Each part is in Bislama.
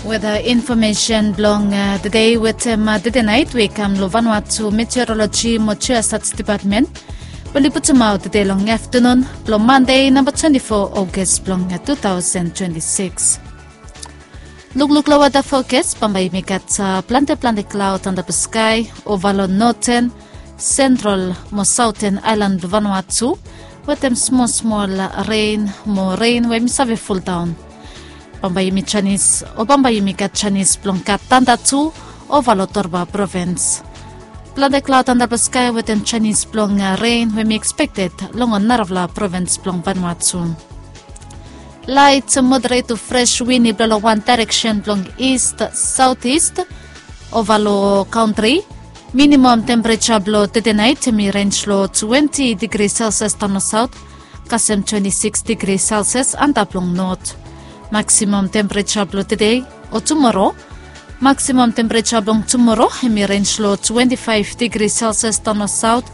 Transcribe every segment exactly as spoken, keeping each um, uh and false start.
Weda infomesen blong tede wetem tede nait we i kam long Vanuatu Meteoroloji mo Geosat Depatmen, we oli putumaot tede long aftanun blong Mande namba twenti fo August blong tu taosen twenti sikis. Lukluk long weda fokas, bambae yumi gat plante plante klaod antap long skae ova long noten, sentral mo saoten aelan blong Vanuatu, wetem smol smol ren mo ren we yumi save fuldaon. Bambae yumi janis o bambae yumi gat janis blong gat tanda tu ova long torba provins. Plante klaod antap long skae wetem janis blong ren we yumi ekspekted long ol narafala provins blong Vanuatu. Laet moderet tu fres win i blo long wan daereksen blong ist saotis ova long kantri. Minimam tempereja blo tede nait hemi renj long twenti digri selsias daon long saot, kasem twenti sikis digri selsias antap long not. Maksimam tempereja blo tede o tumoro. Maksimam tempereja blong tumoro hemi renj long twenti faef digri selsias daon long saot,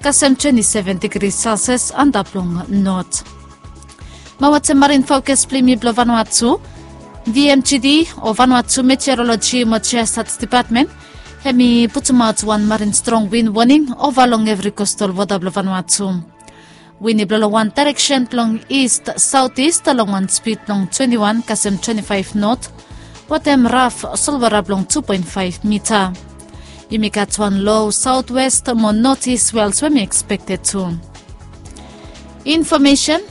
kasem twenti seven digri selsias antap long not. Mo wetem marin fokas blong yumi blong Vanuatu, V M G D o Vanuatu Meteoroloji mo Geosat Depatmen hemi putumaot wan marin strong win woning ova long evri kostal wota blong Vanuatu. Win i blo long wan daereksen blong ist saotis long wan spid blong twenti wan kasem twenti faef not, wetem raf solwara blong tu poen faef mita. Yumi gat wan lo saotwes mo notis we also hemi ekspekted tu. Infomesen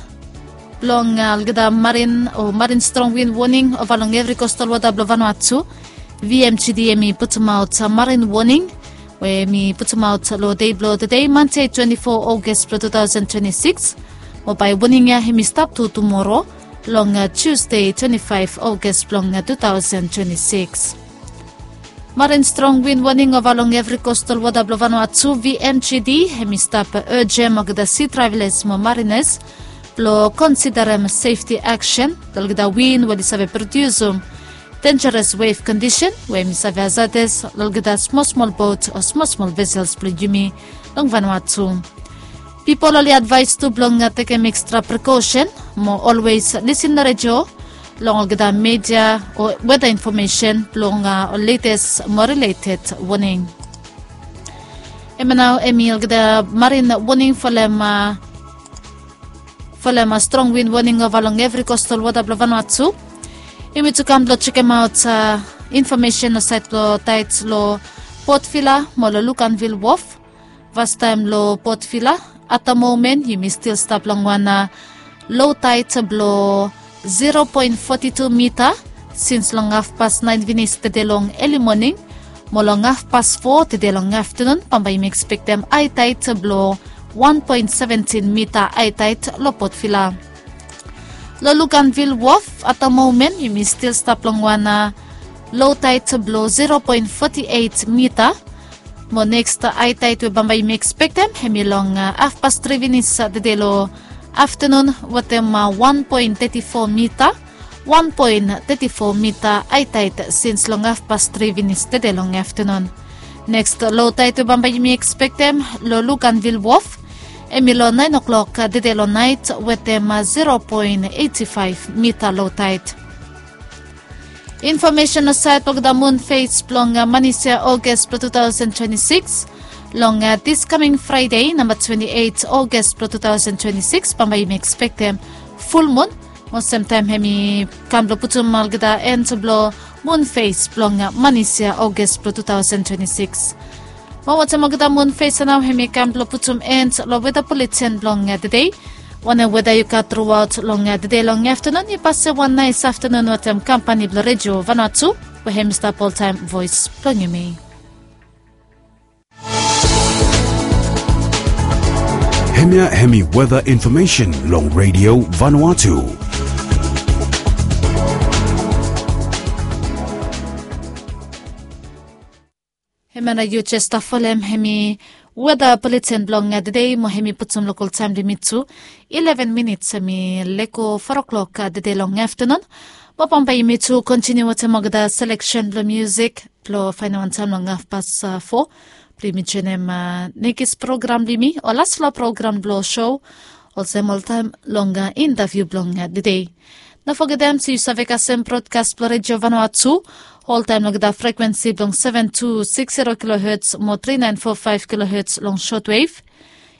blong olgeta marin o marin strong win woning ova long evri kostal wota blong Vanuatu. V M G D hemi putumaot marin woning we hemi putumaot long dei blong tede, Mande twenti fo August blong tu taosen twenti sikis. Mo bae woning ya hemi stap tu tumoro long Tusde twenti faef August blong tu taosen twenti sikis. Marin strong win woning ova long evri kostal wota blong Vanuatu. V M G D hemi stap ejem olgeta si travelas mo marinas blo konsiderem sefti aksen long olgeta win we oli save prodiusum denjaras wef kondisen we hemi save hazades long olgeta smol smol bot o smol smol vesels blong yumi long Vanuatu. Pipol oli advaes tu blong tekem ekstra prekosen mo olwes lisin long redio long olgeta media o weda infomesen blong ol letes mo rileted woning. Hemia nao hemi olgeta marin woning folem folem strong win woning ova long evri kostal wota blong Vanuatu. Yumi tu kam blong jekemaot infomesen long saed blong taet long Port Vila mo long Luganville Wharf. Fastaem long Port Vila, at the moment yumi stil stap long wan lo taet blong zero poen foti tu mita sins long hafpas naen finis tede long eli moning mo long hafpas fo tede long aftanun bambae yumi ekspektem ae taet blong wan poen seventin mita ae taet long Port Vila. Long Luganville Wharf, at the moment yumi stil stap long wan lo taet blong zero poen foti eit mita. Mo neks ae taet we bambae yumi ekspektem hemi long hafpas tri finis tede long aftanun wetem wan poen teti fo mita. Wan poen teti fo mita ae taet sins long hafpas tri finis tede long aftanun. Neks lo taet we bambae yumi ekspektem long Luganville Wharf hemi long naen oklok tede long naet wetem zero poen eiti faef mita lo taet. Infomesen long saed blong olgeta mun fes blong manis ya August blong tu taosen twenti sikis. Long dis kaming Fraede namba twenti eit August blong tu taosen twenti sikis bambae yumi ekspektem fulmun mo semtaem hemi kam blong putum olgeta en blong mun fes blong manis ya August blong tu taosen twenti sikis. Mo wetem olgeta mun fes ya nao hemi kam blong putum en long weda buletin blong tede. Wanem weda yu gat truaot long tede long aftanun, yu pasem wan naes aftanun wetem kampani blong Redio Vanuatu we hemi stap oltaem voes blong yumi. Hemia hemi weda infomesen long Redio Vanuatu. Hemia nao yu jes stap folem hemi weda buletin blong tede mo hemi putum lokal taem blong yumi tu ileven minits hemi lego fo oklok tede long aftanun. Mo bambae yumi tu kontiniu wetem olgeta seleksen blong musik blong faenem wan taem long hafpas fo blong yumi joenem nekis program blong yumi o lasfala program blong sou olsem oltaem long intaviu blong tede. No fogetem se yu save kasem brodkas blong redio vanua tu oltaem long olgeta frekwensi blong seven two six zero kiloherts mo three nine four five kiloherts long shotwev,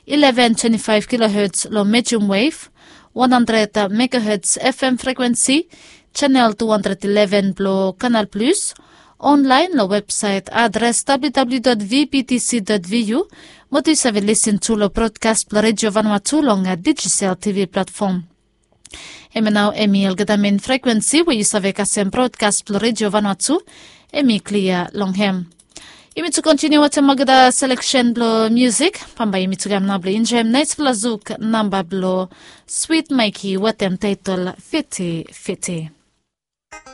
eleven twenty five kiloherts long medium wev, one hundred megaherts fm frekwensi, chanel two hundred eleven blong kanal plus, onlaen long websaet adres www vptc vu, mo tu yu save lisin tu long brodkas blong redio vanua tu long digisel tv platfom. Hemia nao em i olgeta men frekwensi we yu save kasem brodkas blong redio vanua tu. Em i klia long hem. Yumi tu kontiniu wetem olgeta seleksen blong musik. Bambae yumi tu kam nao blong enjoem naesfala zuk namba blong swit maiki wetem taetol fiti fiti.